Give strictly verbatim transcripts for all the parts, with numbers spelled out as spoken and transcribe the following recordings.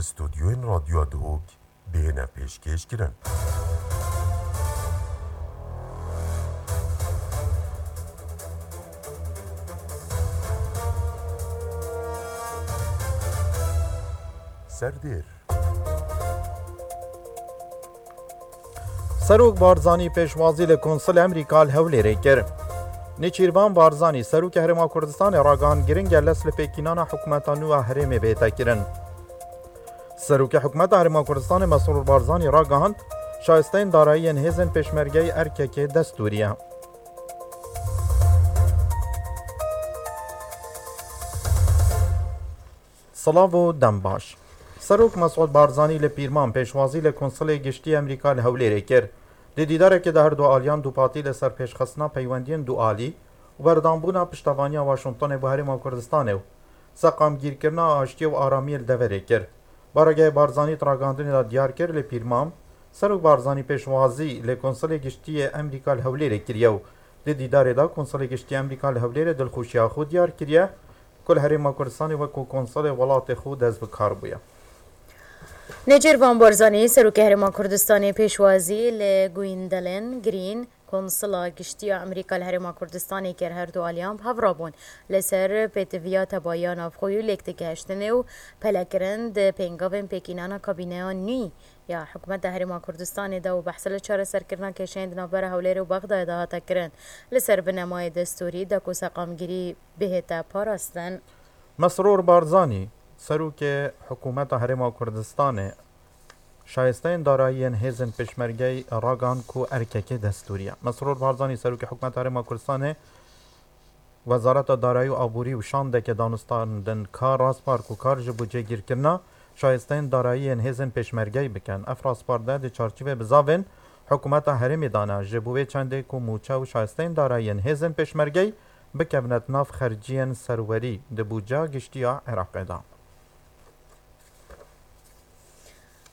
Stûdyoyên Radyoya Duhok bihêne pêşkêş kirin. Serdêr. Serok Barzanî pêşwazî li Konsulê Amerîka li Hewlêrê kir. Nêçîrvan Barzanî, Serokê Herêma Kurdistanê ragihand giring e lez li pêkînana hikûmeta nû ya herêmê bihête kirin. Serokê Hikûmeta Herêma Kurdistanê Mesrûr Barzanî ragihand, şayisteyên darayî yên hêzên pêşmergeyê erkekê destûrî ye. Silav û dem baş. Serok Mesûd Barzanî li Pîrman pêşwazî li Konsulê Giştî Amerîka li Hewlêrê kir. Di dîdarekê de her du aliyan dûpatî li ser pêşxistina peywendiyên dualî û berdanbûna piştevaniya Washingtonê bo Herêma Kurdistanê û seqamgîrkirina aştiyê û aramiyê li deverê kir. Baregehê Barzanî di ragihandinê de diyar kir, li Pîrman Serok Barzanî pêşwazî li Konsulê Giştî yê Amerîka li Hewlêrê kiriye û di dîdarê de Konsulê Giştî Amerîka li Hewlêrê dilxweşiya xwe diyar kiriye ku li Herêma Kurdistanê wekû konsulê welatê xwe dest bi kar bûye. Nêçîrvan Barzanî, Serokê Herêma Kurdistanê pêşwazî li Gwendolyn Green, Konsula Giştî ya Amerîka li Herêma Kurdistanê kir. Her du aliyan bi hev re bûn li ser pêtiviya tebayiya navxweyî û lêktegeştinê û pelekirin di pêngavên pêkînana kabîneya nû ya Hikûmeta Herêma Kurdistanê de û behs li çareserkirina kêşeyên di navbera Hewlêrê û Bexdayê de hate kirin. Li ser binemayê destûrî de ku seqamgirî bihête parastin. Mesrûr Barzanî, Serokê Hikûmeta Herêma Kurdistanê, şayisteyên darayî yên hêzên pêşmergeyê ragihand ku erkekê destûrî ye. Mesrûr Barzanî, Serokê Hikûmeta Herêma Kurdistanê, Wezareta Darayî û Aborî û şandeke danûstandin kar raspar ku kar ji bo cêgîrkirina şayisteyên darayî yên hêzên pêşmergeyê bikin. Ev raspar de di çarçîvê bizavên hikûmeta herêmê de ne, ji bo wê çendê ku mûçe û şayisteyên darayî yên hêzên pêşmergeyê bikevine di nav xerciyên serwerî di bûdceya giştî ya Iraqê de.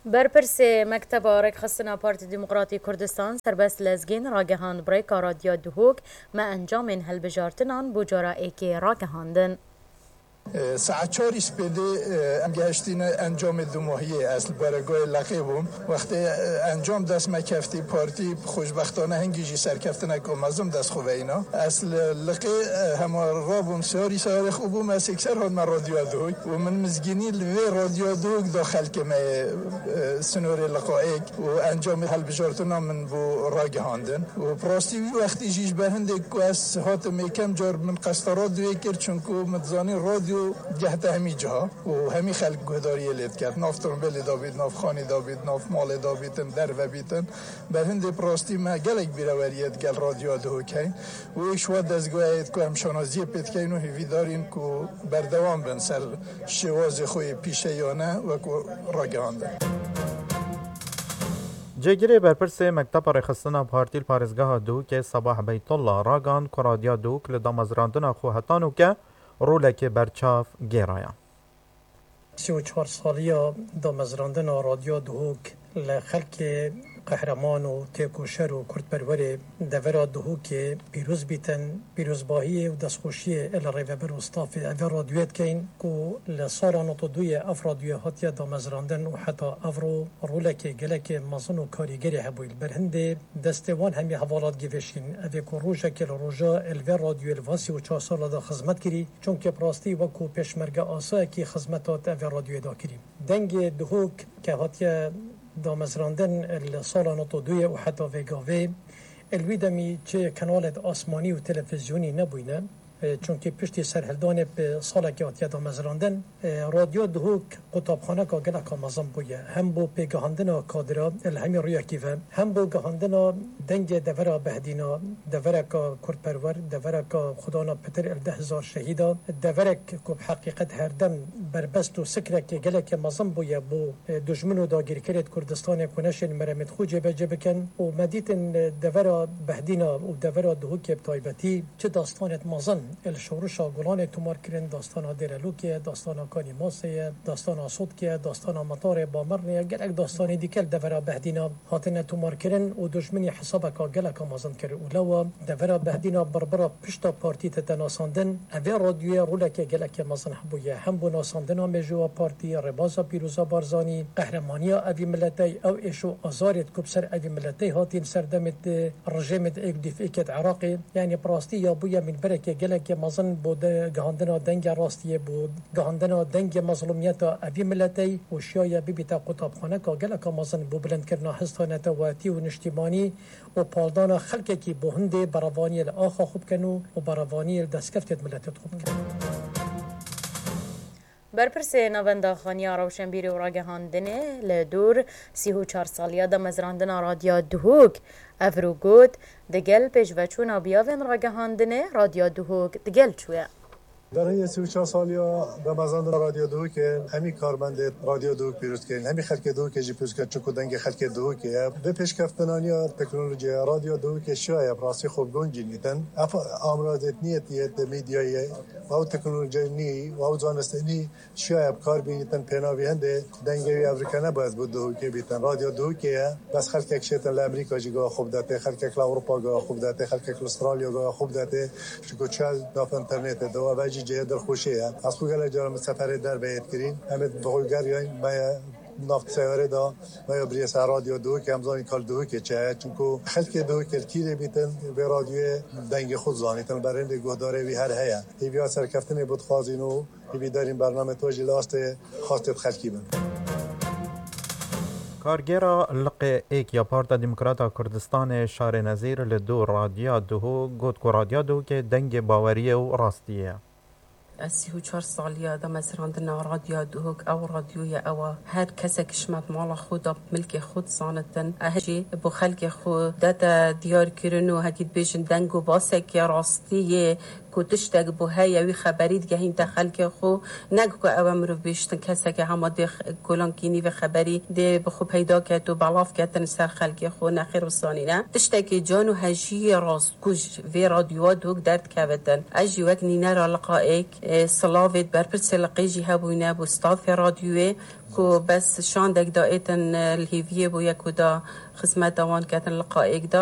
Berpirsê Mekteba Rêkxistina Partî Demokratî Kurdistan, Serbest Lezgîn, ragihand bi rêka Radyoya Duhok me encamên hilbijartinan bo cara êkê ragihandin. E, saet çarî spêdê, e, em gehiştîne encamê dumahiyê. Ez li baregahê Leqê bûm. Wextê, e, encam dest me keftî, partî xweşbextane hingî jî serkeftineka mezin dest xwe veyna. Ez li Liqê, e, hema rabûm, siyarî seyarê xwe bûm, ez êkser hatime Radyoya Duhok û min mizgînî li vê Radyoya Duhok da xelkê me yê, e, sinorê Liqayêk û encamê helbijartina min bû ragihandin. Û bi rastî wî wextî jî ji ber hindê ku ez hatim êkem car min qesta radyoyê kir, çunku min dizanî radyo digehte hemî ciha û hemî xelk guhdariyê lê dikir. Nav tombêlê de bît, nav xanî de bît, nav malê de bîtin, derve bîtin. Ber hindê bi rastî me gelek bîreweriyê digel Radyoya Duhok heyn û êk ji wa dezgehê ku em şanaziyê pê dikeyn û hêvîdarîn ku berdewam bin ser şêwazê xwe yê pîşeyane wekû ragihandin. Cêgirê berpirsê Mekteba Rêxistina Partî li parêzgeha Duhokê Sebah Beytullah ragihand ku Radyoya Duhok li damezrandina xwe heta nûke rolekê berçav gêraye. Sî û çar saliya damezrandina Radyoya Duhok li xelkê qehreman û têkoşer û kurdperwerê devera Duhokê pîroz bîtin, pîrozbahiyê û destxweşiyê li rêveber û stafê eve radyoyê dikeyn ku li sala nod û duyê ev radyoyê hatiye damezrandin û heta evro rolekê gelekê mezin û karîgerê hebûyî. Li ber hindê destê wan hemî hevalat givêşîn. Ev ê ku rojekê li roja li vê radyoyê li van sî û çar sala de xizmet kirî, çunkê bi rastî wekû pêşmerge asayekî xizmeta di evê radyoyê de kirî. Dengê Duhok ke hatiye damezrandin li sala nod û duyê û heta vê gavê, li wî demî çi kanalê di asmanî û televîzyonî nebûyne. E, çunkî piştî serhildanê bi salekê hatiye damezrandin, e, Radyo Duhok qutabxaneka geleka mezin bûye. Hem bo pêgihandina kadira li hemî rûyekî ve, hem bo gihandina dengê devera Behdîna, devereka kurdperwer, devereka xwedana pitir li deh hezar şehîda, deverek ku bi heqîqet herdem berbest û sikrekê gelekê mezin bûye bo, e, dijmin û dagîrkerê di Kurdistanê ku neşên meremêt xwe cêbecê bikin û me dîtin, e, devera Behdîna û devera Duhokê bi taybetî çi dastanêt mezin Li Şorişa Gulanê tomar kirin, dastana Dêrelûkê ye, dastana Kanî Masê ye, dastana Sotkê ye, dastana Metarê Bamirnê ye, gelek dastanê dîke li devera Behdîna hatine tomarkirin û dojminî hesabeka geleka mezin kir û lewa devera Behdîna birbira pişta partî tête nasandin. Evê radyoyê roleke gelekê mezin hebûye, hem bo nasandina mêjoya partî, rêbaza Pîroza Barzanî, qehremaniya evî miletey, ew êş û azarêt ku bi ser evî miletey hatîn serdemê di rejêmê di êk dîf êkê di Iraqê, yanî bi rastî ya bûye mînberekê gelekê mezin bo de gihandina dengê rastiyê, bo gihandina dengê mezlûmiyeta evî miletey û şiyaye bibîte qutabxaneka geleka mezin bo bilindkirina hista neteweyatî û niştîmanî û paldana xelkekî bo hindê berevaniyê li axa xwe bikin û, û berevaniyê li destkeftê di miletê xwe bikin. Berpirsê Navenda Xaniya Rewşenbîrî û Ragihandinê li dûr sî û çar saliya damezrandina Radya Duhok evro got, digel pêşveçûna biyavên ragihandinê Radya Duhok digel çûye. Derheya sî û çar saliya damezrandina Radya Duhokê hemî karmendê Radya Duhok pîroz kirin, hemî xelkê Duhokê jî pîroz kirin, çunku dengê xelkê Duhokê ye. Vê pêşkeftinaniya teknolojiya Radya Duhokê şiyaye bi rastî xwe bi guncî nîtin. Ev amrazêt niyetiyê di medyayê, ew teknolojiyê nî, ew zanistê nî, şiyaye bi kar bînitin, pênavî hindê dengê wî evrikene bes bo Duhokê bîtin. Radyo Duhokê ye, bes xelkek şêtin li Amerîka jî gava xwe bidetê, xelkek li Ewropa gava xwe bidetê, xelkek li Australya gava xwe bidetê. Çunku çi nav internetê de, ev jî cihê dilxweşê ye. Ez xwe gelek caran min seferê derve yê dikirîn. Em ê bi xwe geriyayîn, me ye nav seyarê de, me ye birî ser Radyo Duhokê, em zanîn kal Duhokê çi ye. Çunku xelkê Duhokê li kîrê bîtin, vê radyoyê dengê xwe dizanîtin, li ber hindê guhdarê wî her heye. Hêviya serkeftinê bo dixwazîn û Hêvîdarîn bername to jî li astê xwestê bi xelkî bin. Kargêra Liqê Êk ya Parta Demokrata Kurdistanê Şarê Nezîr li dû Radya Duhok got ku Radya Duhokê dengê baweriyê û rastiyê ye. Ez sî û çar saliya damezrandina Radya Duhok, ew radyoya ew e. Her kesek ji me bi mala xwe de, bi milkê xwe dizanitin. Ez jî bo xelkê xwe dete diyarkirin û hekî dibêjin deng û basekê rastiyê ku tiştek bû heye, wî xeberî digehînte xelkê xwe, ne ku ew e mirov bêjtin keseke hema dê x-, kolankînî vê xeberî dê bi xwe peyda ket û belav ketin ser xelkê xwe, nexêr wisa nîne. Tiştekê can û hejiyê rast ku ji vê radyoya Duhok derdikevitin. Ez jî wek nînera Liqa Êk, e, silavê berpirsê Liqê jî hebûyne bo stafê radyoyê ku bes şandek da êtin, e, li hêviyê bûye ku da xizmeta wan ketin Liqa Êk de.